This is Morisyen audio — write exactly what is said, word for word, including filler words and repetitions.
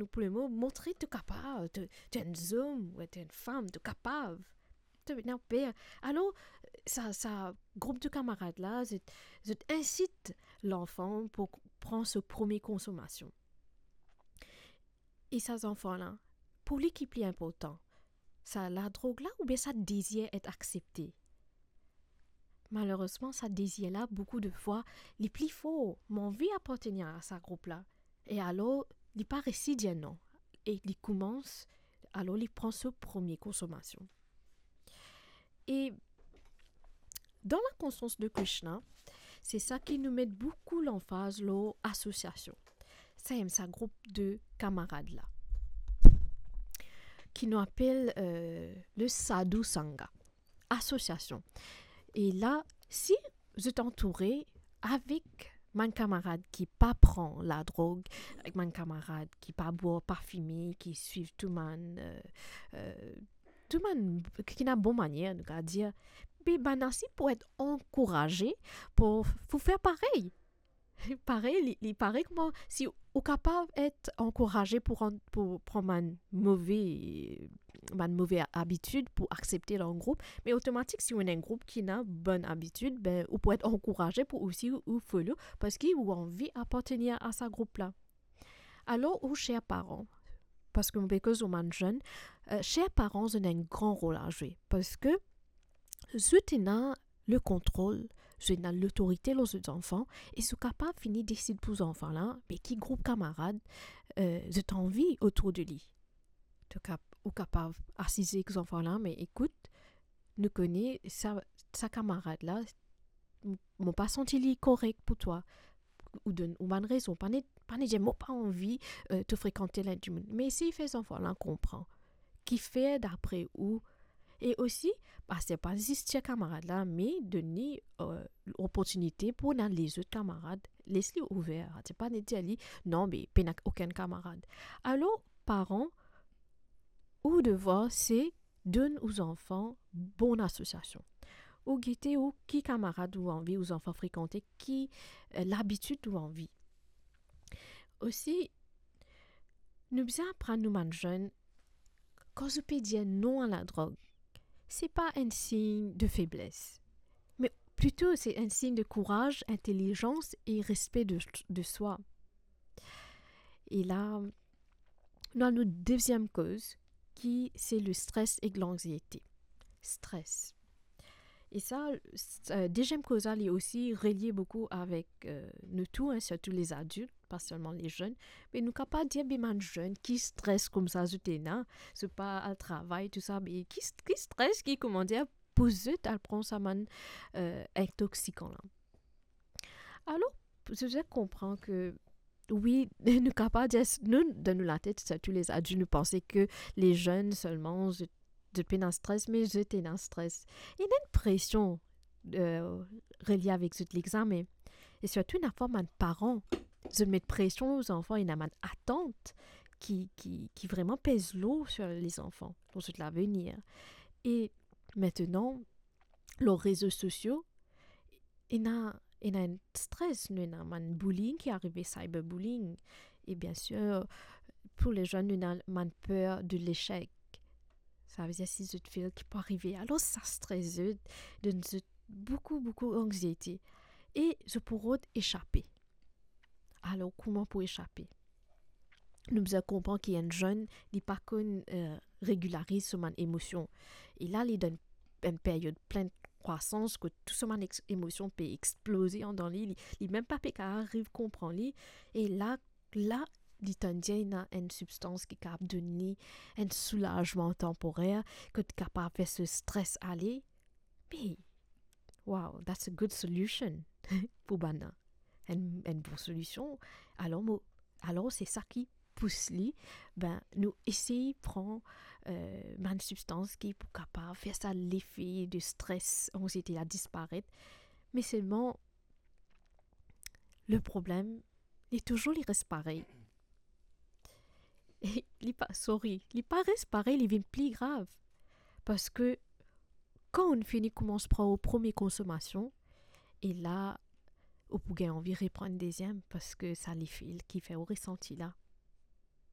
nou pou le mo, montre to kapav, to, to enn zom, ou to enn fam, to kapav. To pena per. Alor, sa, sa group de kamarad la, zot, zot insit lanfan pou pran so premie konsomasion. E sa zanfan la, pou li ki pli inportan, sa ladrog la oubien sa dezir et aksepte? Malerezman, sa dezir la, boukou de fwa, li pli for. Mo anvi apartenir a sa group la. E alor, li pa resi dir non. E li koumans, alor li pran so premie konsomasion. E dan la konsians de Krishna, se sa ki nou met boukou lanfaz lor asosiasion. Sa enn sa group de kamarad la, ki nou apel, euh, le Sadhu Sangha, asosiasion. E la, si zot antoure avek bann kamarad ki pa pran ladrog, avek bann kamarad ki pa bwar, pa fime, ki swiv tou bann, euh, euh, tou bann ki ena bon manier, nou kav dir, be bann la si pou et ankouraze pou, pou fer parey. Parey, li, li parey kouma si ou kapav et ankouraze pou rann, pou pran bann move, bann move abitid, pou aksepte dan group, me otomatik, si ou ena enn group ki ena bann abitid, be, ou pou et ankouraze pou osi ou, ou follow, parski ou anvi apartenir a sa group la. Alor, ou ser paran, parski mo pe koz lor bann zenn, euh, ser paran, zot ena enn gran rol a zwe, parski zot ena le kontrol, zot ena lotorite lor zot zanfan, e zot kapav vini desid pou zanfan la, be ki group kamarad, euh, zot anvi otour de li. To kap-, ou kapav asize ek zanfan la, me ekout, nou kone sa, sa kamarad la, m-, mo pa santi li korek pou twa. Ou donn ou bann rezon, pa ne, pa ne dir mo pa anvi, euh, to frekant tel dimoun. Me esey fer zanfan la konpran. Kifer dapre ou? E osi, pa, se pa zis tir kamarad la, me donn li, euh, loportinite pou ena lezot kamarad. Les li ouver. Se pa ne dir li, non, be pena okenn kamarad. Alor, paran, ou devwar se donn ou zanfan bon asosiasion. Ou gete ou ki kamarad ou anvi ou zanfan frekante, ki, euh, labitid ou anvi. Osi, nou bizin aprann nou bann zenn, kan zot pe dir non a ladrog, se pa enn sign de febles, me plito se enn sign de kouraz, intelizans e respe de, de swa. E la, nou al nou deziem koz, ki se le stres ek lanxiete. Stres. E sa, s-, euh, deziem koz la, li osi relie boukou avek, euh, nou tou, hein, sirtou les adultes, pa selman les jeunes. Me nou kapav dir, be bann zenn ki stres koumsa zot ena, zot pa al travay, tou sa, be ki st-, ki stres, ki, kouma dir, pou zot al pran sa bann, euh, intoksikan la. Alor, pou zot konpran ke, wi, nou kapav dir, nou, dan nou latet, sirtou les adultes, nou panse ke les jeunes selman, zot, zot pena stres, me zot ena stres. Ena enn presion, euh, relie avek zot lexame. E sirtou, ena parfwa bann paran, zot met presion lor zanfan, ena bann atant ki, ki, ki vreman pez lour sir lezanfan, lor zot lavenir. E aster, lor rezo sosio, ena, ena enn stres, nou ena bann bullying ki arive, cyberbullying. E bien sir, pou les jeunes, nou ena bann per de lesek. Sa ve dir si zot fail, ki pou arive. Alor, sa stres zot, donn zot boukou, boukou anxiete. E zot pou rod esape. Alor, kouma pou esape? Nou bizin konpran ki enn zenn, li pa konn, euh, regilariz so bann emosion. E la, li dan enn peryod plen krwasans, kot tou so bann ex-, emosion pe exploze andan li, li, li mem pa pe kapav ariv konpran li. E la, la, li tann dir ena enn sibstans ki kapav donn li enn soulazman tanporer, kot kapav fer so stres ale. Me, wow, that's a good solution pou bann la. Enn, enn bon solision. Alor mo, alor se sa ki pous li, be, nou esey pran, euh, bann sibstans ki pou kapav fer sa lefe de stres, anxiete la disparet. Me selman, le problem, li touzour, li res parey. E li pa, sorry, li pa res parey, li vinn pli grav. Parski kan ou fini koumans pran ou premie konsomasion, e la, ou pou gagn anvi repran enn deziem, parski sa lefe ki fer ou resanti la.